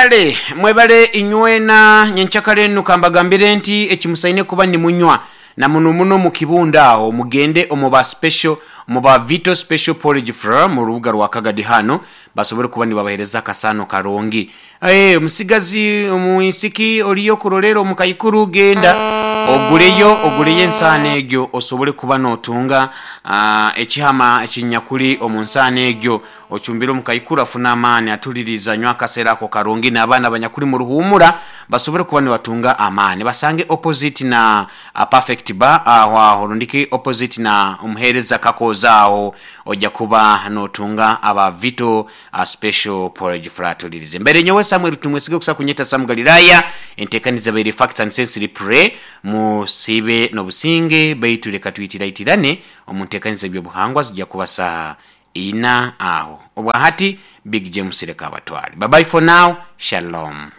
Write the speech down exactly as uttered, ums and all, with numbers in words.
Kale mwebale inywena. Nyenkyakare enu kambagambire nti ekimusaine kuba nimunywa na muno muno mu kibunda aho, mugende omu ba special, omu ba Vito Special Porridge Flour mu rubuga rwa Kagadi hano, basobole kuba nibabahereza akasano karungi. Eh, omusigazi, omwisiki oriyo kurolera omu kaikuru, genda oguleyo oguleyo ensaano egyo osobole kuba notunga ah, ekihama ekinyakuli omu nsaano egyo, ocumbire omu kaikuru afune amaani, atuliriza anywa akaseera ako karungi, n'abaana abanyakuli mu ruhumura basobole kuba nibatunga amaani. Basange opposite na a Perfect Bar aho aho, rundiki opposite na omuheereza Kakooza aho, ojja kuba notunga aba Vito uh, Special Porridge Flour. Tulirize mbere nyowe Samuel Tumwesige, okusa kunyeta Sam Galilaya. Entekaniza baire Facts and Sense Replay. Musiibe n'obusinge, baitu leka twitiraitirane omu ntekaniza by'obuhangwa, zijja kuba saha ina aho. Obwahati Big James, leka abatwale. Bye bye for now, shalom.